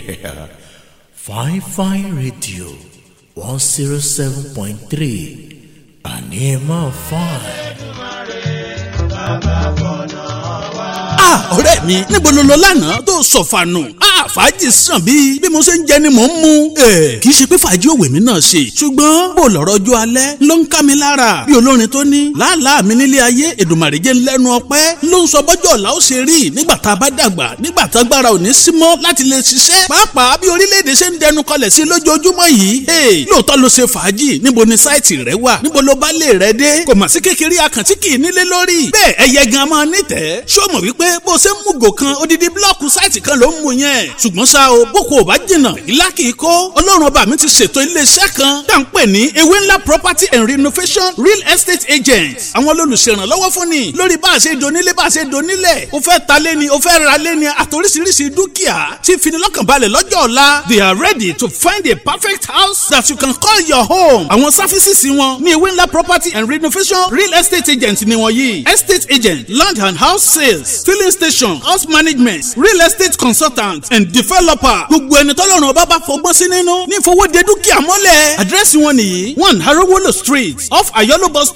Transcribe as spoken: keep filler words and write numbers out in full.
Yeah. Fine Fine Radio one zero seven point three àní ẹ máa fine. Ah, ọ̀rẹ́ mi, níbo ló lọ lánàá tó sọ̀fànù? Ah, fàájì sàn bí bí mo ṣe ń jẹ ni mò ń mu. Ẹ kì í ṣe pé fàájì òwe mi náà ṣe, ṣùgbọ́n bó lọ̀rọ̀ ọjọ́ alẹ́ ló ń ká mi lára. Bí olórin tó ní làálàá mi nílé ayé, Èdùmàrè jẹ́ lẹ́nu ọpẹ́ ló ń sọ bọ́jọ́ ọ̀la ó ṣe rí nígbà tá a bá dàgbà, nígbà tá agbára ò ní sí mọ́ láti lè ṣiṣẹ́. Pàápàá bí orílẹ̀-èdè ṣe ń dẹnu kọlẹ̀ sí lójoojúmọ́ yìí. Lóòótọ́ ló ṣe fàájì, níbo ni sáìtì rẹ wà? Níbo ló bá lè rẹ dé? Kò mà sí kékeré akàntí kì í nílé lórí. Bẹ́ẹ̀ ẹyẹ gan máa nítẹ̀ẹ́. Ṣó mọ̀ wípé bó ṣe ń mú gò kan odidi blọọkù sáìtì kan ló ń mú yẹn. Ṣùgbọ́n ṣá o, boko ò bá jìnnà, ìlà kì í kó. Ọlọ́run ọba mi ti ṣètò iléeṣẹ́ kan tá à ń pè ní Ewé Ńlá Property and Renovation Real Estate Agents. Àwọn olùṣèrànlọ́wọ́ fún ni lórí bá a ṣe donílé bá a ṣe donílẹ̀. O fẹ́ ta lé ni, o fẹ́ ra lé ni, àtòríṣiríṣi dúkìá tí finilọ́kànbalẹ̀ lọ́jọ́ ọ̀la. They are ready to find a perfect house that you can call your home. Àwọn services wọn ní Ewé Ńlá Property and Renovation Real Estate Agents ni wọ́n yìí. Estate agent, land and house sales, filling station, house management, real estate consultant and developer. Gbogbo ẹni tọ́lọ́run ọba bá fọgbọ́n sí nínú ní ìfowóde dúkìá mọ́lẹ̀. Àdírẹ́sì wọn nìyí: one Harowolo Street, off Ayolo bus stop.